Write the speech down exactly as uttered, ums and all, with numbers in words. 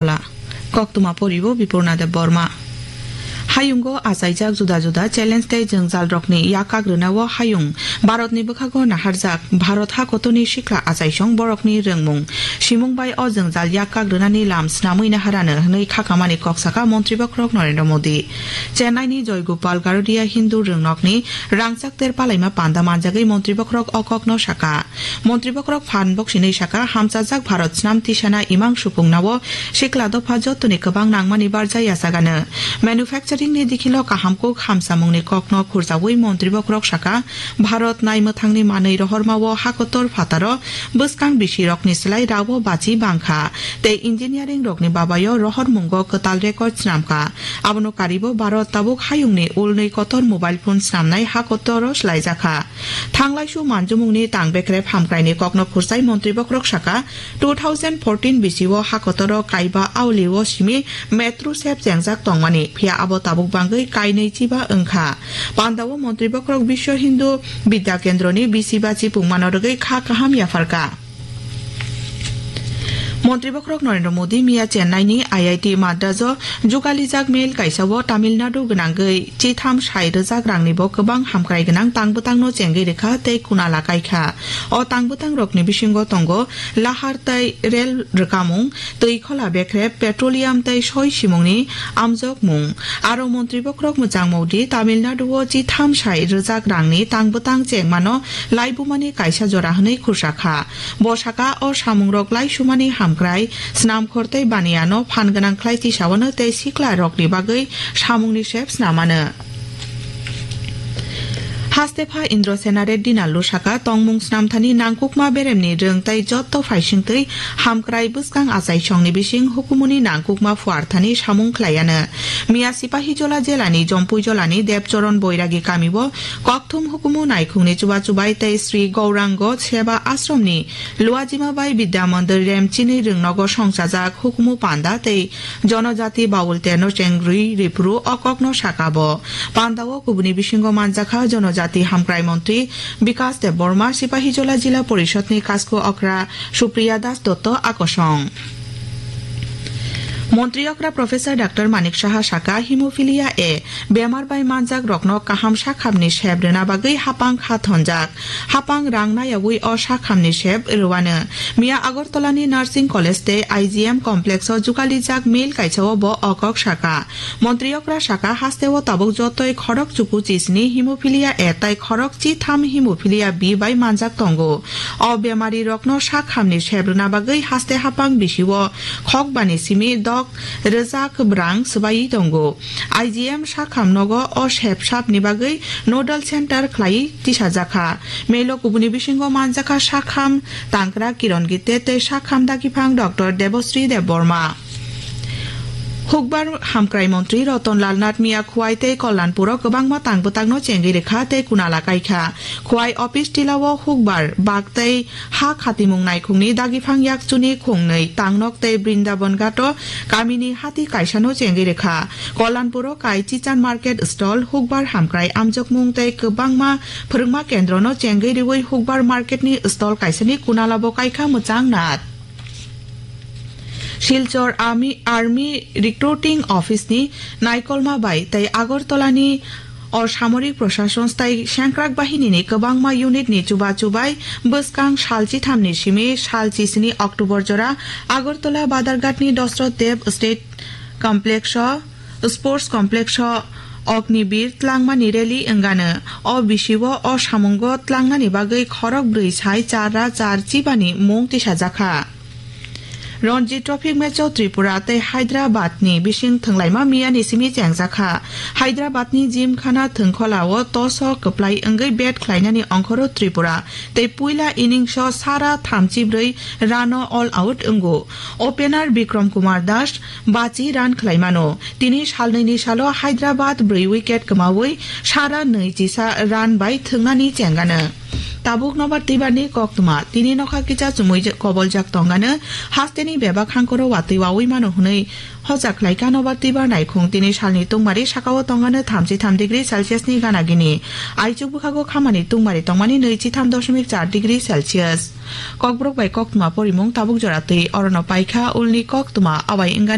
Kola. Koktwma poribo Bipurna Deb Borma. Hayungo achaijak juda juda challenge tei jwngjalrokni yak kagrwnao hayung Bharatni bwkhago naharjak. Bharat hakotorni sikla achaisong borokni rwngmung, simung bai o jwngjal yak kagrwnani lam snamwi naharano hwnwi khakamani kok saka Montri Bokhorok Narendra Modi. Chennaini Joygopal Garodia Hindu rwngnokni rangchak ter palaima panda manjagwi Montri Bokhorok o kokno saka. Montri Bokhorok phan boksinwi saka, hamchajak Bharat snam tisana imang supungnao sikla dopha jotoni kwbang nangmani barja yachagano. Manufacturing ni dikhilo kaham kuk hamsamungni kokno khurjaui Montri Bokhorok saka, Bharat naimwthangni manwi rohormao hakotor phataro bwskang bisirokni slai rao bachi bangkha, tei engineering rokni babayo rohormungo kwtal record snamkha. Abono karibo Bharat tabuk hayungni ulnwi kotor mobile phone snamnai hakotoro slaijakha. Thanglaisu manjumungni tang bekrep hamkraini kokno khursai Montri Bokhorok saka, two thousand fourteen bisio hakotoro kaiba aulio simi metro sep chengjak tongmani, phiya abo tabuk bangwi kainwi chiba wngkha. Pandao Montri Bokhorok Biswa Hindu Bidya Kendroni bisi bachi pungmano rwgwi kha kaham yapharkha. Montri Bokhorok Narendra Modi miya Chennai ni I I T Madras o jugalijak mail kaisa o Tamil Nadu gwnangwi chitham sai rwjak rangni bo kwbang hamkrai gwnang tangbwtang no chengwi rwkha tei kunala kaikha. O tangbwtang rokni bisingo tongo lahar tei rel rwkamung, twi khola bekrep, petroleum tei soi simungni amjokmung. Aro Montri Bokhorok mwchang Modi Tamil Nadu o chitham sai rwjak rangni tangbwtang chengmano laibumani kaisa jora hwnwi khursa kha. Bo saka o samungrok laisumani hamkrai, snamkhor tei baniano phan gwnang khlai tisawano tei sikla rokni bagwi samungni sep snamano. Hastepha Indrasena Reddy Nallu saka tongmung snamthani nangkukma beremni rwng tei jotto phaisingtwi hamkrai bwskang achaisongni bising hukumuni nangkukma phuarthani samung khlaiano. Miya Sipahijola jelani Jompuijolani Debchoron Boiragi kamio kokthum hukumu naikhungni chubachubai tei Sri Gaurango Seba Ashromni Luajima bai Bidya Mandir Remchini rwngnogo songchajak hukumu panda tei Jonojati Baul Terno Chengrwi Ripuru o kokno saka bo. Pandao kubuni bisingo manjakha Jonojati Hamkrai Montri Bikas Debbarma, Sipahijola Jila Porishadni Kasko Okra Supriya Das Dotto akosong. Montri okra Professor Doctor Manik Saha saka, hemophilia A bemar bai manjak rokno kaham sakhamni sep rwna bagwi hapang kha thonjak. Hapang rang nayaui o sakhamni sep rwano. Miya Agartala ni Nursing College tei I G M Complex o jugalijak mail kaisa o bo o kok saka. Montri okra saka, hasteo tabuk jotoi khorok chuku chisni hemophilia A tai khorok chitham hemophilia B bai manjak tongo. O bemari rokno sakhamni sep rwna bagwi haste hapang bisio khokbani simi dok rwjak brang swbaiwi tongo. I G M sakham nogo o sep sapni bagwi nodal center khlaiwi tisajakha. Mailo kubuni bisingo manjakha sakham tangkra Kiron Gitte tei sakham dagiphang Doctor Debosri Debbarma. Hukbar Hamkrai Montri Roton Lal Nath Miya Khwai tei Kollanpuro kwbangma tangbwtangno chengwi rwkha tei kunala kaikha. Khwai office tilao Hukbar bak tei ha khatimung naikhungni dagiphang yakchuni khungnwi Tangnok tei Brindaban Ghato kamini hati kaisano chengwi rwkha. Kollanpuro kai Chichan Market Stall, Hukbar Hamkrai amjokmung tei kwbangma phwrwngma kendrono chengwi rwui Hukbar Marketni stall kaisani kunalabo kaikha mwchang Nath. Silchar Army, Army Recruiting Office ni naikolma bai tei Agartala ni o samorik prosason tai sengkrak bahini ni kwbangma unit ni chuba chubai bwskang sal chithamni simi sal chisini October jora Agartala Badarghat ni Dosrot Dev State Complex o, Sports Complex o Ognibir tlangmani rally wngano. O bisio o samungo tlangnani bagwi khorok brwi sai char ra char chibani mung tisajakha. Ranji Trophy match o Tripura tei Hyderabad ni bising thwnglaima miyani simi chengjakha. Hyderabad ni Gymkhana Thwngkhola o toss o kwplai wngwi bat khlainani ongkhoro Tripura tei puila innings o sara thamchi brwi run o all out wngo. Opener Bikram Kumar Das bachi run khlaimano. Tini salnwini salo Hyderabad brwi wicket kwmawi sara nwi chisa run bai thwngnani chengano. Tabuk nobar twibarni koktwma, tini nokha kisa chumui je-, koboljak tongano, hasteni bebak hangkoro watwi wawi mano hwnwi hochak khlaikha nobar twibar naikhung. Tini salni tungmari sakao tongano thamchi tham degree Celsius ni gana gini. Aichuk bwkhago khamani tungmari tongmani nwi chi tham doshmik char degree Celsius. Kokborok bai koktwma porimung tabuk jora twi orono paikha ulni koktwma awai wngani